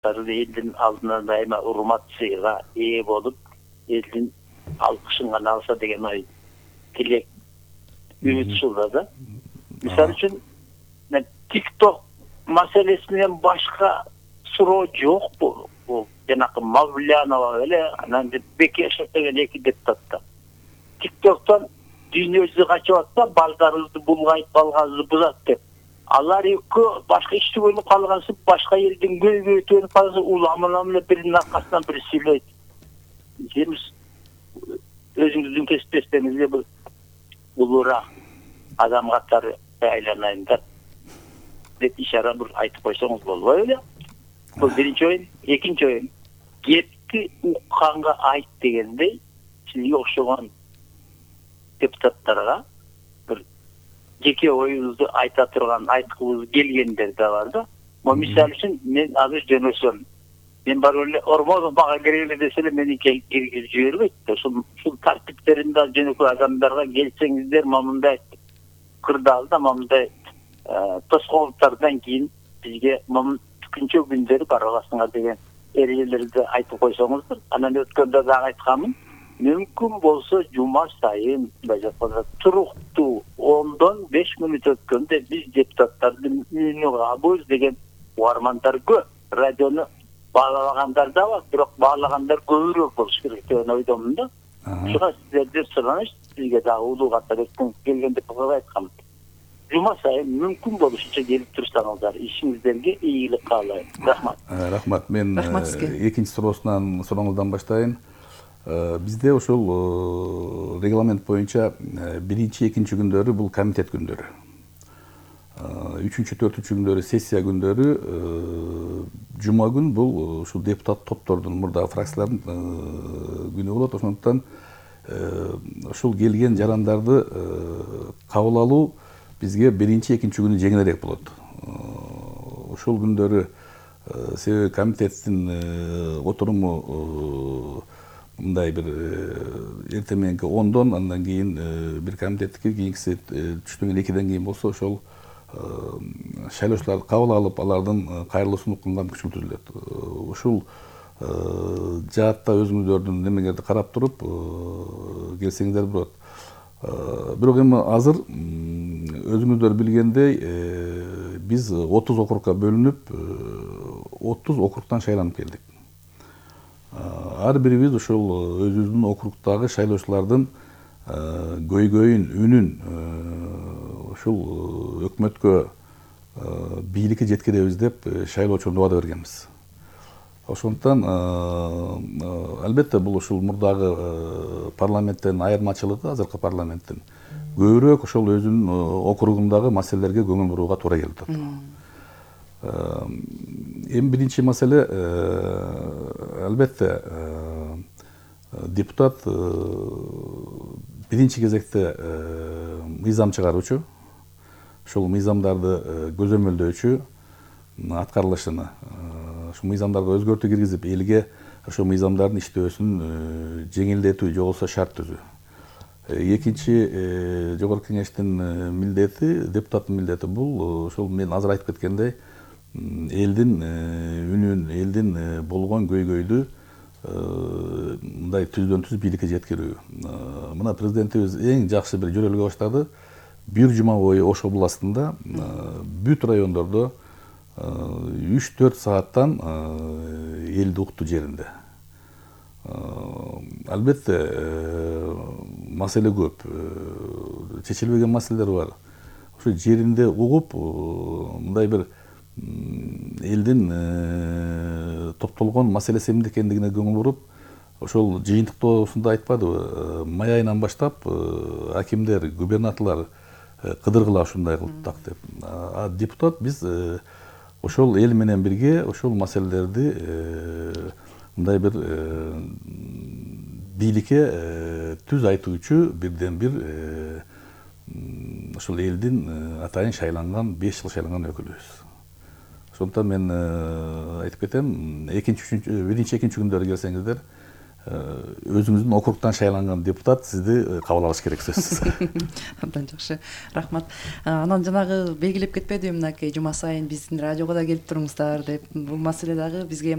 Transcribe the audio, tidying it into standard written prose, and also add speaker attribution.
Speaker 1: депутаттары элдин алдына дайыма урмат сыйга ээ болуп, элдин алкышын гана алса деген ой тилек үмүт ушулда да. Мисалы үчүн TikTok маселеси менен башка суроо жок бул. Бул жанакы Мавлянова эле анан Бекешев деген эки депутат. TikToктон дүйнөбүздү качып атса, балдарыбызды булгайып калганыбызды бузат деп. Алар экөө башка ишти болуп калгансы, башка элдин көйгөй өтүп калса, уламынан эле биринин аркасынан бири сүйлөйт. Сиз өзүңүздүн кесиптештериңизге бул улуураак адам катары айланайындар деп ишара бир айтып койсоңуз болбойбу беле? Бул биринчи оюн. Экинчи оюн. Кепти укканга айт дегендей, сизге окшогон депутаттарга бир жеке оюңузду айта турган, айткыбыз келгендер да бар да. Мисалы үчүн мен азыр жөнөсөм. Мен барып эле ормону мага киргиле десе эле мени киргизип жибербейт. Ушул тартиптеринде жөнөкөй адамдарга келсеңиздер, мындай кырдаалда мындай тоскоолдуктардан кийин бизге күнчө күндөрү бара аласыңар деген эрежелерди айтып койсоңуздар. Анан өткөндө дагы айтканмын. Мүмкүн болсо жума сайын туруктуу 10-5 мүнөт өткөндө биз депутаттардын үйүнө кабыз деген угармандар көп. Радиону баалабагандар да бар, бирок баалагандар көбүрөөк болуш керек деген ойдомун да. Ушуга сиздерден сураныш, сизге дагы улуу катары келген деп айткам. Жума сайын мүмкүн болушунча келип турсаңыздар, ишиңиздерге ийгилик каалайм. Рахмат.
Speaker 2: Рахмат. Мен экинчи сурооңуздан баштайын. Бизде ошол регламент боюнча биринчи, экинчи күндөрү бул комитет күндөрү. Үчүнчү, төртүнчү күндөрү сессия күндөрү, жума күн бул ушул депутат топтордун, мурдагы фракциялардын күнү болот. Ошондуктан ушул келген жарандарды кабыл алуу бизге биринчи, экинчи күнү жеңилирээк болот. Ушул күндөрү себеби комитеттин отуруму мындай бир эртең мененки 10-дон, андан кийин бир комитеттики, кийинкиси түштөн кийин 2ден кийин болсо, ошол шайлоочуларды кабыл алып, алардын кайрылуусун укканга күчөлтүлөт. Ушул жаатта өзүңүздөрдүн немеңерди карап туруп келсеңиздер болот. Бирок эми азыр өзүңүздөр билгендей, биз 30 округга бөлүнүп, 30 округтан шайланып келдик. Ар бирибиз ошол өзүбүздүн округдагы шайлоочулардын көйгөйүн, үнүн ушул өкмөткө, бийликке жеткиребиз деп шайлоочу убада бергенбиз. Ошондуктан албетте бул ушул мурдагы парламенттен айырмачылыгы, азыркы парламенттин көбүрөөк ошол өзүнүн округундагы маселелерге көңүл бурууга туура келип атат. Эми биринчи маселе, албетте депутат биринчи кезекте мыйзам чыгаруучу, ошол мыйзамдарды көзөмөлдөөчү, аткарылышыны, ошол мыйзамдарга өзгөртүү киргизип, элге ошол мыйзамдардын иштөөсүн жеңилдетүү, же болбосо шарт түзүү. Экинчи жогорку кеңештин милдети, депутаттын милдети бул ошол мен азыр айтып кеткендей, элдин үнүн, элдин болгон көйгөйдү мындай түздөн түз бийликке жеткирүү. Мына президентибиз эң жакшы бир жөрөлгө баштады. Бир жума бою Ош областында бүт райондордо 3-4 сааттан элди укту жеринде. Албетте маселе көп, чечилбеген маселелер бар. Ошо жеринде угуп, мындай бир элдин топтолгон маселеси эмне экендигине көңүл буруп, ошол жыйынтыктоосунда айтпадыбы, май айынан баштап акимдер, губернаторлор кыдыргыла ушундай кылдык деп. Депутат биз ошол эл менен бирге ошол маселелерди мындай бир бийликке түз айтуучу бирден бир ошол элдин атайын шайланган, 5 жыл шайланган өкүлүбүз. Ошондуктан мен айтып кетем, биринчи, экинчи күндөрү келсеңиздер, өзүңүздүн округтан шайланган депутат сизди кабыл алыш керек сөзсүз.
Speaker 3: Абдан жакшы, рахмат. Анан жанагы белгилеп кетпедимби, мынакей жума сайын биздин радиого да келип туруңуздар деп, бул маселе дагы бизге